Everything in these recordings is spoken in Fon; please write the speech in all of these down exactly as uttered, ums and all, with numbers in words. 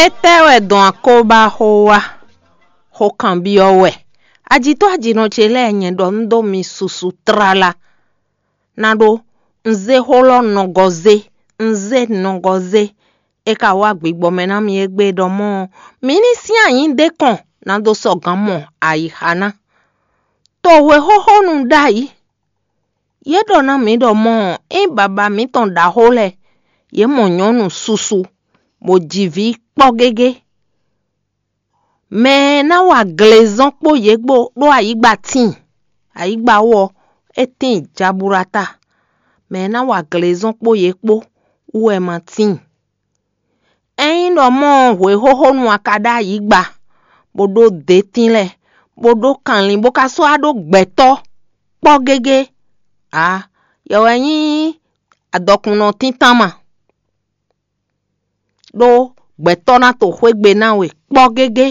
Étɛ́ wɛ dɔn akóbá xó wá? Xó kanbyɔ́ wɛ. Ajitɔ́ ajinɔ ce lɛ́ɛ, nyɛ ɖɔ un ɖó mi susu tlala. Ná ɖó un zé xó lɔ nɔgɔzé, un zé nɔgɔzé. É ka wá gbigbɔ mɛ ná mi égbé ɖɔ mɔ̌ ɔ́, mi ní sín anyǐ ɖé kɔn ná dó sɔ́ gǎn mɔ ayixa ná. Tohwe xóxónu ɖ'ayǐ. Yě ɖɔ ná mǐ ɖɔ mɔ̌ ɔ́, ényí baba mǐtɔn ɖaxó lɛ́ɛ, yě mɔ nyɔ̌nu susu, bó ji vǐ kpɔ́ gégé. Mɛ e ná wa glezɔ́n kpó yě kpó ɖó ayǐgba tíin; ayǐgba ɔ́, é tíin jaburata. Mɛ e ná wa glezɔ́n kpó yě kpó wú wɛ ma tíin. Ényí ɖɔ mɔ̌ ɔ́, hwexóxónu a ka ɖó ayǐgba, bó ɖó dětín lɛ́ɛ, bó ɖó kanlin, bó ka sɔ́ wá ɖó gbɛ̌tɔ́ kpɔ́ gégé ǎ, yɛ wɛ nyí adɔkunnɔ tíntan ma. Ɖó gbɛ̌tɔ́ ná to xwé gbe ná we kpɔ́ gégé,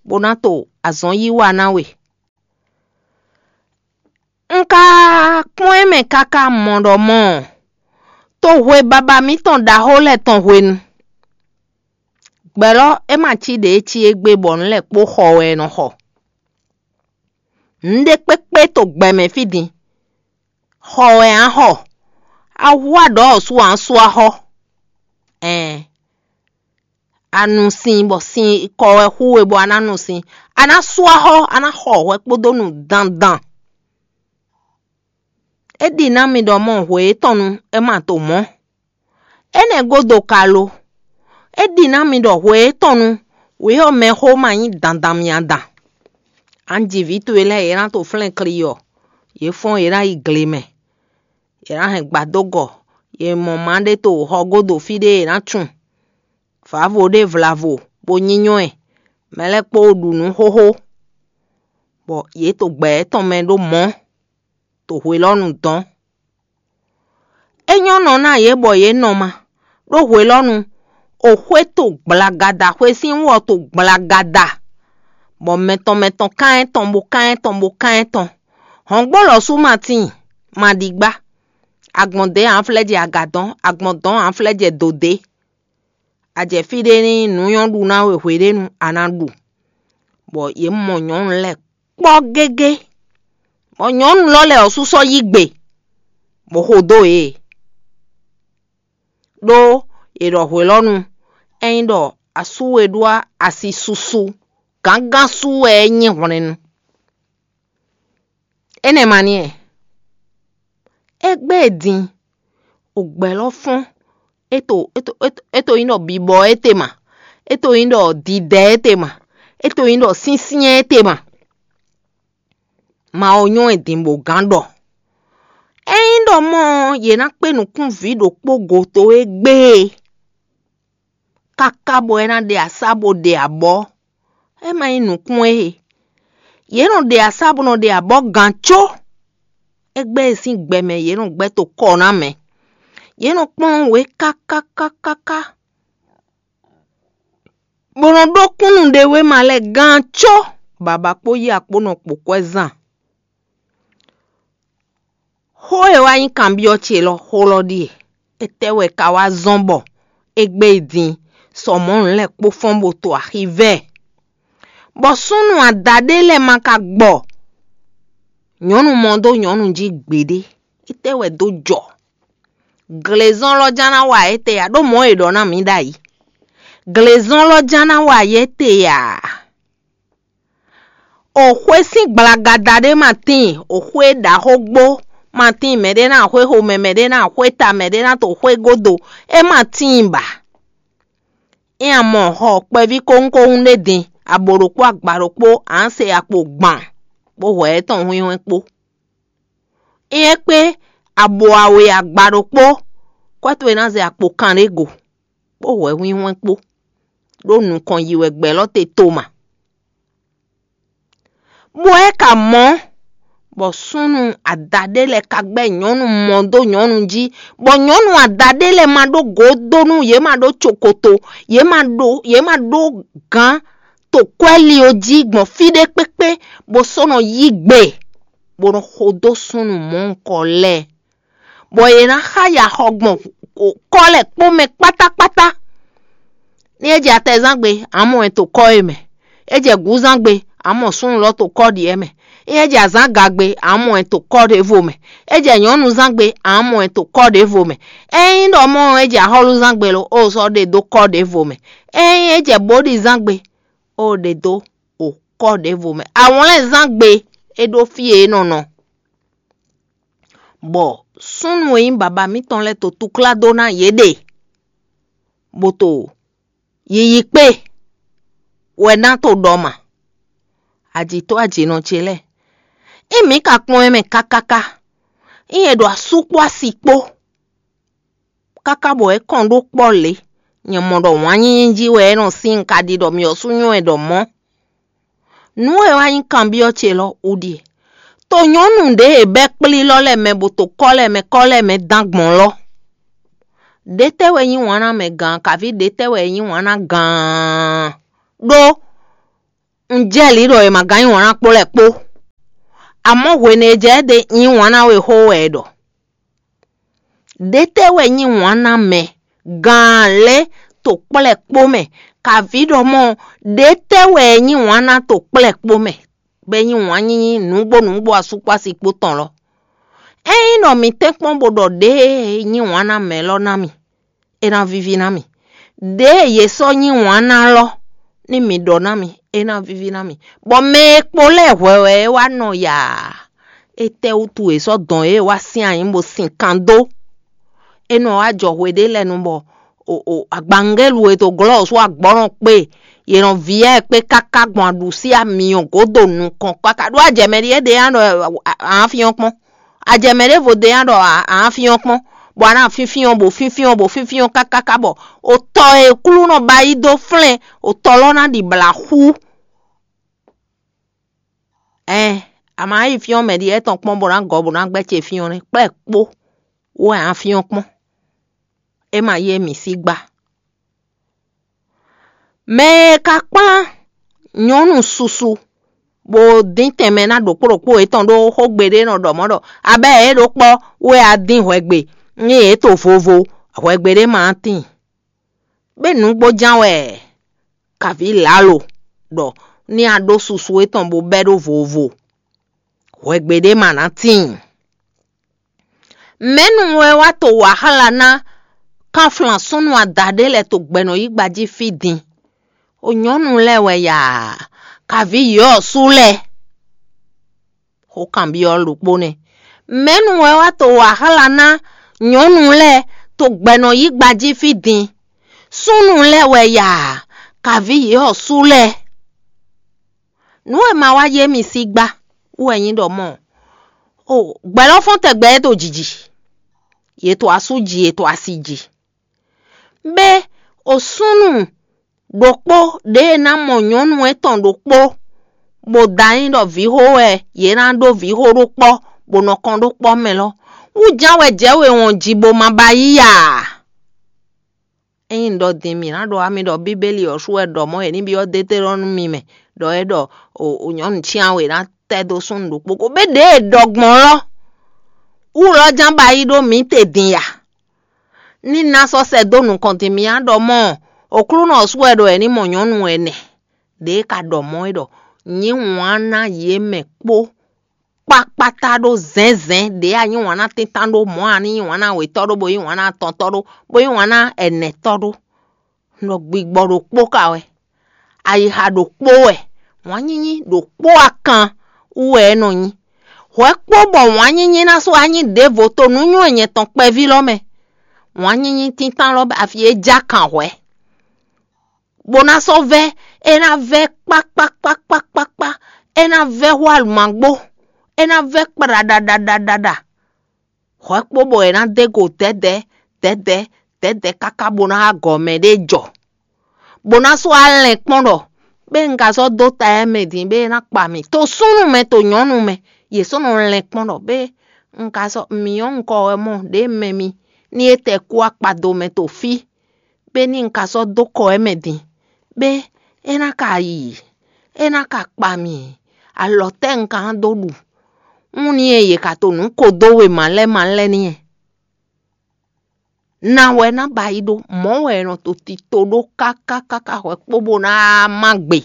bó ná to azɔn yí wa ná we. Un ka kpɔ́n ɛ mɛ káká mɔ ɖɔ mɔ̌ ɔ́, tohwe baba mǐtɔn ɖaxó lɛ́ɛ tɔn hwenu. Gbɛ̌ lɔ, é ma cí ɖě e cí égbé bɔ nǔ lɛ́ɛ kpó xɔ wɛ è nɔ xɔ. Nǔɖé kpékpé to gbɛ mɛ fí din. Xɔ wɛ a nǎ xɔ. A hu aɖɔ̌ ɔ́ sú a nǎ sú axɔ́. Ɛɛn, a nu sin bɔ sin kɔ wɛ xú we bɔ a ná nu sin. A ná sú axɔ́, a ná xɔ hwɛ kpódó nu dandan. É ɖi ná mi ɖɔ mɔ hwe étɔn nu é ma to mɔ̌. Énɛ́ gúdo ka lo? É ɖi ná mi ɖɔ hwe étɔn nu wǐ ɔ́ mɛxó ma nyí dandan mia dan. Anji vǐ towe lɛ́ɛ, yě ná to flɛ́n kli ɔ́, yě fɔ́n yě ná yi gle mɛ. Yě ná hɛn gbadógɔ; yě mɔ ma ɖé to xɔ gúdo fí ɖé yě ná tun. Vǎvo ɖé vlavo bó nyínyɔ́ ɛ; mɛ lɛ́ɛ kpó ɖu nǔ xóxó, bɔ yě to gbɛ étɔn mɛ ɖó mɔ̌, to hwelɔ́nu dɔn. É nyɔ́ nɔ ná yě bɔ yě nɔ ma, ɖó hwelɔ́nu, oxwé to gblagada, xwe sín wú ɔ́ to gblagada, bɔ mɛtɔn mɛtɔn kán ɛ tɔn bó kán ɛ tɔn bó kán ɛ tɔn. Hɔ̌ngbó lɔ̌ sú ma tíin, ma ɖi gbá. Agbɔ̌n dě ǎ flɛ́ jɛ aga dɔn, agbɔ̌n dɔn ǎ flɛ́ jɛ dǒ dé. A jɛ fí ɖé ní nǔ nyɔ́ ɖu ná we hweɖénu a nǎ ɖu. Bɔ yě mɔ nyɔ̌nu lɛ́ɛ kpɔ́ gégé, bɔ nyɔ̌nu lɔ lɛ́ɛ ɔ́ sú sɔ́ yí gbe, bó xo dó yě. Ɖó è ɖɔ hwelɔ́nu, ényí ɖɔ asú we ɖó asi susu, gǎngán sú wɛ é nyí hwlɛ́nnu. Énɛ́ ma n'i ɛ. Égbé e din, ogbɛ́ lɔ fɔ́n, é to é to é to é to nyí ɖɔ bibɔ étɛ́ ma, é to nyí ɖɔ didɛ étɛ́ ma, é to nyí ɖɔ syɛ́nsyɛ́n étɛ́ ma. Mawu nyɔ́ ɛ din bó gán ɖɔ: Ényí ɖɔ mɔ̌ ɔ́, yě ná kpé nukún vǐ ɖokpó go towe gbé e, káká bɔ é ná ɖe asá bó ɖe abɔ̌. É ma nyí nǔkún ée. Yě nɔ ɖe asá bó nɔ ɖe abɔ̌ gǎn có. Égbé e sín gbɛ mɛ yě nɔ gbɛ́ to kɔ ná mɛ. Yě nɔ kplɔ́n wě káká káká ká, bó nɔ ɖó kúnnu ɖe wéma lɛ́ɛ gán có. Baba kpó yí akpó nɔ kpo kwɛ́ zan. Xó e wá nyí kanbyɔ́ ce lɔ, xó lɔ ɖíe: Étɛ́ wɛ ka wá zɔ́n bɔ égbé e din, sɔ mɔ̌ nǔ lɛ́ɛ kpó fɔ́n bó to axi vɛ, bɔ súnnu adaɖé lɛ́ɛ ma ka gbɔ? Nyɔ̌nu mɔ dó nyɔ̌nu jí gbeɖé. Étɛ́ wɛ dó jɔ? Glezɔ́n lɔ ján ná wa étɛ́ ǎ, ɖó mɔ̌ è ɖɔ ná mǐ ɖ'ayǐ. Glezɔ́n lɔ ján ná wa étɛ́ ǎ. Oxwé sín gblagada ɖé ma tíin, oxwé ɖaxó gbó ma tíin, mɛɖé ná xwé xomɛ, mɛɖé ná xwé ta, mɛɖé ná to xwé gúdo, é ma tíin ba. É a mɔ xɔ kpɛví kóhúnkóhún ɖé din, abo ɖokpó agba ɖokpó, a nǎ se akpo gban, bó hwɛ étɔn hwínhwɛ́n kpó. É nyɛ́ kpé abo awe agba ɖokpó, kwɛ́ towe ná zɛ akpo kanɖé go, bó hwɛ hwínhwɛ́n kpó, ɖó nukɔn yi wɛ gbɛ lɔ te toma. Bɔ é ka mɔ, bɔ súnnu adaɖé lɛ́ɛ ka gbɛ́ nyɔ̌nu mɔ dó nyɔ̌nu jí, bɔ nyɔ̌nu adaɖé lɛ́ɛ ma ɖó gǒ dó nú yě, ma ɖó cokoto, yě ma ɖó yě ma ɖó gǎn to kwɛ́li ɔ́ jí gbɔn fí ɖé kpékpé, bó sɔ́ nɔ yí gbe, bó nɔ xo dó súnnu mɔ̌hunkɔ lɛ́ɛ, bɔ yě ná xa yi axɔ gbɔn kɔ́ lɛ́ɛ kpó mɛ kpátákpátá. Ní é jɛ atɛzángbe, a mɔ ɛ to kɔ́ e mɛ. É jɛ gǔzángbe, a mɔ súnnu lɔ to kɔ́ ɖi ɛ mɛ. Ní é jɛ azǎngagbe, a mɔ ɛ to kɔ́ ɖěvo mɛ. É jɛ nyɔ̌nuzángbe, a mɔ ɛ to kɔ́ ɖěvo mɛ. Ényí ɖɔ mɔ é jɛ axɔ́lúzángbe lo, ó sɔ́ ɖe dó kɔ́ ɖěvo mɛ. Ényí é jɛ bǒɖizángbe, ó ɖe dó o kɔ́ ɖěvo mɛ. Awlɛ́nzángbe é ɖó fí e é nɔ nɔ, bɔ súnnu e nyí baba mǐtɔn lɛ́ɛ to túklá dó ná yě ɖe, bó to yiyi kpé wɛ ná to ɖɔ ma. Ajǐtɔ́ ajǐnɔ ce lɛ́ɛ, ényí mǐ ka kpɔ́n ɛ mɛ kákáká, ényí è ɖo asú kpó asi kpó, káká bɔ é kɔn ɖó kpɔ́ lě, nyɛ mɔ ɖɔ wǎn nyínyí jí wɛ é nɔ sín, un ka ɖi ɖɔ mǐ ɔ́ sú nyɔ́ ɛ ɖɔ mɔ̌. Nǔ e wá nyí kanbyɔ́ ce lɔ wú ɖíe: to nyɔ̌nu ɖě e bɛ́ kplílɔ́ lɛ́ɛ mɛ bó to kɔ́ lɛ́ɛ mɛ kɔ́ lɛ́ɛ mɛ dán gbɔn lɔ, ɖětɛ́ wɛ nyí wǎn ná mɛ gǎn, kaví ɖětɛ́ wɛ nyí wǎn ná gǎn? Ɖó un jɛ lǐ ɖɔ è ma gán nyí wǎn ná kpó lɛ́ɛ kpó. Amɔ̌ hwenu e jɛ ɛ ɖe nyí wǎn ná we xó wɛ è ɖɔ. Ɖětɛ́ wɛ nyí wǎn ná mɛ gǎn lɛ́ɛ to kplɛ́ kpó mɛ, kaví ɖɔ mɔ ɖětɛ́ wɛ nyí wǎn ná to kplɛ́ kpó mɛ, bɔ é nyí wǎn nyínyí nǔgbó nǔgbó asú kpó asi kpó tɔn lɔ. Ényí ɖɔ mǐ tɛ́nkpɔ́n bó ɖɔ ɖěe nyí wǎn ná mɛ lɔ ná mì, é ná víví ná mì. Ɖěe yě sɔ́ nyí wǎn ná lɔ, ní mǐ ɖɔ ná mì, é ná víví ná mì. Bɔ mɛ e kpo lɛ́ɛ hwɛ wɛ é wá nɔ yaa. Étɛ́wútu è sɔ́ dɔn yě wá sín ayǐ bó sin kan dó? É nɔ wá jɔ hwe ɖé lɛ́ɛ nu bɔ o o agbangélu e to glɔ́ wǒ sú agbɔ̌nɔ kpé, yě nɔ vyɔ́ ɛ kpé káká gbɔn aɖǔsí amyɔ gǒdo nukɔn kpákpá. Ɖó ajɛmɛ ɖíe ɖe nya ɖɔ a a fyɔ́n kpɔ́n. Ajɛmɛ ɖěvo ɖe nya ɖɔ a a fyɔ́n kpɔ́n, bɔ a ná fínfín ɔ́ bɔ fínfín ɔ́ bɔ fínfín ɔ́ kákáká bɔ o tɔ e Klúnɔ ba yí dó flɛ́n, o tɔ lɔ ná ɖi blǎ xú. Ɛn, a ma yi fyɔ́n mɛ ɖi étɔn kpɔ́n bó ná gɔ́ bó ná gbɛ́ ce fyɔ́n nɛ́ kplɛ́ kpó wɛ a fyɔ́n kpɔ́n. É ma yé mǐ sí gbá. Mɛ e ka kplán nyɔ̌nu susu bó dín tɛnmɛ ná ɖokpó ɖokpó yětɔn ɖó xógbe ɖé nɔ ɖɔ mɔ̌ ɖɔ: "Abɛ́ yě ɖó kpɔ́ wɛ a dín hwɛgbe, ní yě to vovo, hwɛgbe ɖé ma tíin." Bɛ́ nǔgbó ján wɛ kaví lǎlo ɖɔ ní a ɖó susu étɔn bó bɛ́ ɖó vovo, hwɛgbe ɖé ma ná tíin. Mɛ̌nu wɛ wá to wǎ xlá ná kánflán súnnu adaɖé lɛ́ɛ to gbɛ̌nɔyígba jí fí din? O nyɔ̌nu lɛ́ɛ wɛ yaa, kaví yɔ̌ ɔ́ sú lɛ́ɛ. Xó kanbyɔ́ ɖokpó nɛ́. Mɛ̌nu wɛ wá to wǎ xlá ná nyɔ̌nu lɛ́ɛ to gbɛ̌nɔyígba jí fí din? Súnnu lɛ́ɛ wɛ yaa, kaví yě ɔ́ sú lɛ́ɛ. Nǔ e ma wá yé mi sí gbá wú wɛ nyí ɖɔ mɔ̌. O gbɛ̌ lɔ fɔ́n tɛgbɛ é ɖo jǐ jí. Yě to asú jí, yě to asi jí. Bɛ́ o súnnu ɖokpó ɖě e ná mɔ nyɔ̌nu étɔn ɖokpó, bó da nyí ɖɔ vǐxó wɛ yě ná ɖó vǐxó ɖó kpɔ́, bó nɔ kɔn ɖó kpɔ́ mɛ lɔ, wú ján wɛ jɛ̌ we wɔn ji bó ma ba yí a? Ényí un ɖɔ din mǐ ná ɖɔ ami ɖɔ Bíbélì ɔ́ sú wɛ ɖɔ mɔ̌ è ní byɔ́ Deutéronome mɛ, ɖɔ é ɖɔ o o nyɔ̌nu cyán we ná tɛ́ dó súnnu ɖokpó ko, bɛ́ ɖěe è ɖɔ gbɔn lɔ wú lɔ ján ba yí ɖó mǐ te din ya. Ní ná sɔ́ sɛ́ dó nukɔn din mì á ɖɔ mɔ̌, Oklúnɔ ɔ́ sú wɛ ɖɔ è ní mɔ nyɔ̌nu ɛnɛ. Ɖě e ka ɖɔ mɔ̌ é ɖɔ: "Nyǐ wǎn ná yě mɛ kpó kpákpátá ɖó zɛ̌nzɛ̌n ɖě a nyí wǎn ná tíntan ɖó mɔ̌ a ní yí wǎn ná wětɔ́ ɖó, bó yí wǎn ná atɔntɔ́ ɖó, bó yí wǎn ná ɛnɛtɔ́ ɖó." Un ɖɔ gbigbɔ ɖokpó ka wɛ, ayixa ɖokpó wɛ, wǎn nyínyí ɖokpó akan wú wɛ é nɔ nyí. Hwɛ kpó bɔ wǎn nyínyí ná sú wá nyí ɖěvo to nǔnywɛ́ nyɛ tɔn kpɛví lɔ mɛ. Wǎn nyínyí tíntan lɔ afi e já kan hwɛ, bó ná sɔ́ vɛ́, é ná vɛ́ kpákpákpákpákpá, é ná vɛ́ hú alǔmagbó, é ná vɛ́ kplaɖaɖaɖaɖa. Hwɛ kpó bɔ è nǎ dó e go dɛ̌dɛ̌ dɛ̌dɛ̌ dɛ̌dɛ̌ káká bó ná wá gɔ̌ mɛ ɖé jɔ, bó ná sɔ́ wá lɛn kpɔ́n ɖɔ: "Bɛ́ un ka sɔ́ dó ta ɛ mɛ din bɛ́ é ná kpa mì to súnnu mɛ to nyɔ̌nu mɛ." Yě sɔ́ nɔ lɛn kpɔ́n ɖɔ: "Bɛ́ un ka sɔ́ mǐ nyɔ́ un kɔ wɛ mɔ ɖě mɛ mi ní é tɛ kú akpado mɛ to fí, bɛ́ ní un ka sɔ́ dó kɔ ɛ mɛ din, bɛ́ é ná ka yi, é ná ka kpa mì, alɔ tɛ́ un ka ná dó ɖu?" Wún ní e yě ka to nǔ ko dó wěma lɛ́ɛ ma lɛ́ɛ n'i. Na wɛ ná ba yi ɖó, mɔ̌ wɛ è nɔ to tito ɖó káká káká hwɛ̌ kpó bó ná má gbe,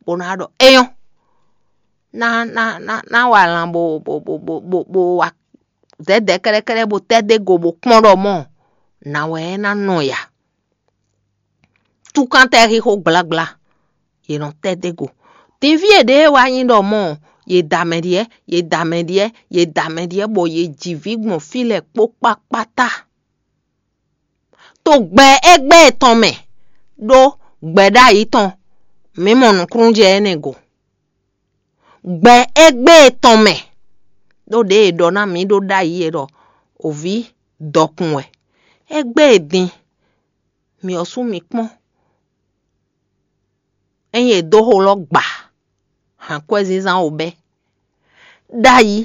bó ná ɖɔ éyɔ́, ná ná ná ná wa lan bó bó bó bó bó bó wa zɛ̌dɛ̌ kɛ́ɖɛ́kɛ́ɖɛ́ bó tɛ́ dó go bó kpɔ́n ɖɔ mɔ̌, nǎ wɛ é ná nɔ ya. Túkántɛ́ xixo gblagbla, yě nɔ tɛ́ dó go. Dinví e ɖě wá nyí ɖɔ mɔ̌, yě da mɛ ɖyɛ̌, yě da mɛ ɖyɛ̌, yě da mɛ ɖyɛ̌, bɔ yě ji vǐ gbɔn fí lɛ́ɛ kpó kpákpátá. To gbɛ égbé tɔn mɛ, ɖó gbɛ ɖ'ayǐ tɔn, mǐ mɔ nǔkúnnújɛ énɛ́ go. Gbɛ égbé tɔn mɛ, ɖó ɖěe è ɖɔ ná mǐ ɖó ɖ'ayǐ é ɖɔ: "Òví dɔkun wɛ." Égbé din, mǐ ɔ́ sú mǐ kpɔ́n. Ényí è dó xo lɔ gba, hǎnkwɛ́zínzán wo bɛ́. Ɖ'ayǐ,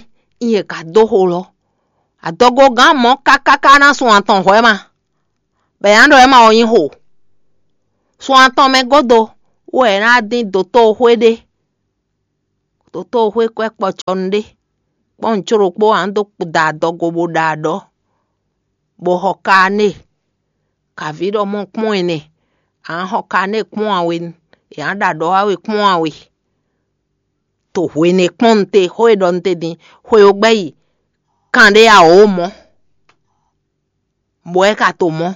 ényí è ka dó xo lɔ, adɔgogán mɔ̌ káká ká ná sun atɔn hwɛ̌ ma, bɔ è nǎ ɖɔ é ma wɛ nyí xo. Sun atɔn mɛ gúdo wú wɛ è nǎ dín dotóxwé ɖé, dotóxwé kwɛ́ kpɔcɔnu ɖé, kpɔ́n nǔcó ɖokpó ǎ dó da adɔgo bó ɖa aɖɔ̌, bó xɔ kané, kaví ɖɔ mɔ kpɔ́n ɛnɛ, ǎ xɔ kané kpɔ́n awe, è nǎ ɖa aɖɔ̌ awe kpɔ́n awe. To hwenu e kpɔ́n nu te, xó e ɖɔ nu te din, xwe ó gbɛ́ yi kanɖé awǒ mɔ̌, bɔ é ka to mɔ̌,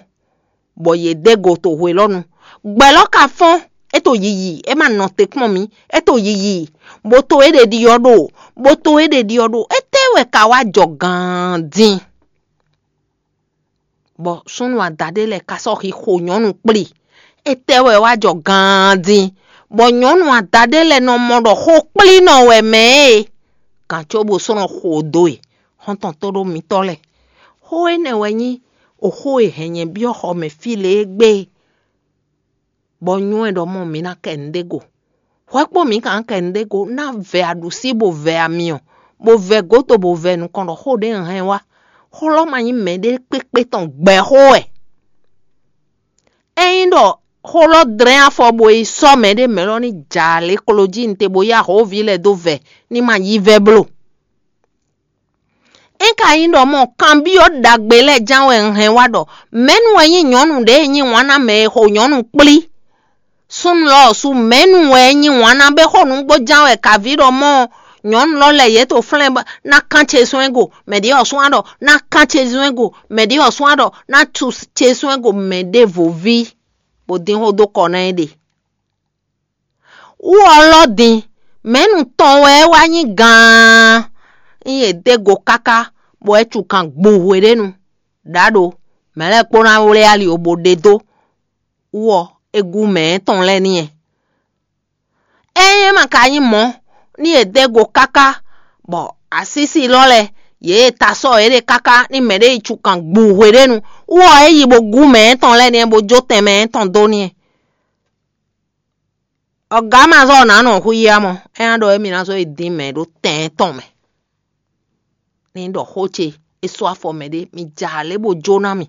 bɔ yě dó go to hwe lɔ nu. Gbɛ lɔ ka fɔ́n, é to yiyi, é ma nɔ te kpɔ́n mǐ, é to yiyi, bó to é ɖe ɖiɔ ɖo, bó to é ɖe ɖiɔ ɖo. Étɛ́ wɛ ka wá jɔ gaan din, bɔ súnnu adaɖé lɛ́ɛ ka sɔ́ xixo nyɔ̌nu kplí? Étɛ́ wɛ wá jɔ gaan din, bɔ nyɔ̌nu adaɖé lɛ́ɛ nɔ mɔ ɖɔ xó kplínɔ wɛ mɛ é? Gǎn có bó sɔ́ nɔ xo dó e, xɔ́ntɔn tóɖó mitɔ́ lɛ́ɛ. Xó énɛ́ wɛ nyí oxó e hɛn nyɛ byɔ́ xɔ mɛ fí lě égbé, bɔ nywɛ́ ɖɔ mɔ mǐ ná kɛ nǔɖé go. Hwɛ kpó mǐ ka ná kɛ nǔɖé go, ná vɛ aɖǔsí bó vɛ amyɔ, bó vɛ gǒdo bó vɛ nukɔn ɖɔ xó ɖě un hɛn wá. Xó lɔ ma nyí mɛɖé kpékpé tɔn gbɛ̌ xó wɛ. Ényí ɖɔ xó lɔ dlɛ́n afɔ bó yi sɔ́ mɛɖé mɛ lɔ ní jǎ lě klo jí un te bó yá hǒví lɛ́ɛ dó vɛ ní ma yí vɛ́ bló. É ka nyí ɖɔ mɔ kanbyɔ́ ɖagbe lɛ́ɛ ján wɛ un hɛn wá ɖɔ: "Mɛ̌nu wɛ nyí nyɔ̌nu ɖě e nyí wǎn ná mɛ e xo nyɔ̌nu kplí?" Súnnu lɔ ɔ́ su: "Mɛ̌nu wɛ é nyí wǎn ná bɛ́ xó nǔgbó ján wɛ kaví ɖɔ mɔ nyɔ̌nu lɔ lɛ́ɛ yě to flɛ́n bɔ ná kán ce zɔ́n ɛ go?" Mɛ ɖě ɔ́ sú wá ɖɔ: "Ná kán ce zɔ́n ɛ go." Mɛ ɖě ɔ́ sú wá ɖɔ: "Ná cu ce zɔ́n ɛ go." Mɛ ɖěvo ví, bó dín xó dó kɔ ná ɛ ɖe. Wú ɔ́ lɔ́ din, mɛ̌nu tɔn wɛ é wá nyí gaan. Ényí è dó go káká, bɔ é cu kan gbu hweɖénu, ɖǎ ɖo, mɛ̌ lɛ́ɛ kpó ná wlé ali obo ɖe dó. Wú ɔ́, é gú mɛ̌ tɔn lɛ́ɛ n'i. Ényí é ma ka nyí mɔ̌, ní è dó go káká, bɔ asísi lɔ lɛ́ɛ, yě e ta sɔ́ yě ɖe káká ní mɛ̌ ɖé yi cu kan gbu hweɖénu, wú ɔ́, é yi bó gú mɛ̌ tɔn lɛ́ɛ n'i, bó jó tɛn mɛ tɔn dó n'i. Ɔgǎ ma zɔ́ ɔ́ nǎ nɔ xwíyá mɔ, é ná ɖɔ émí ná zɔ́ yi dín mɛ ɖó tɛn tɔn mɛ. Ní ɖɔ xó ce, é sú afɔ mɛ ɖé, mi ja lě bó jó ná mì.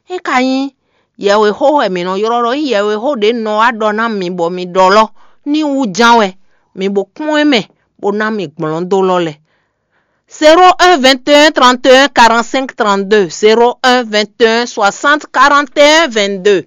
É ka nyí yɛwexó wɛ mǐ nɔ ylɔ́ ɖɔ nyí yɛwexó ɖě nɔ wá ɖɔ ná mi bɔ mi ɖɔ lɔ ní wú ján wɛ, mi bo kpɔ́n é mɛ, bó ná mi gblɔ̌n dó lɔ lɛ. Zéro un vingt et un trente et un quarante-cinq trente-deux, zéro un vingt et un soixante quarante et un vingt-deux.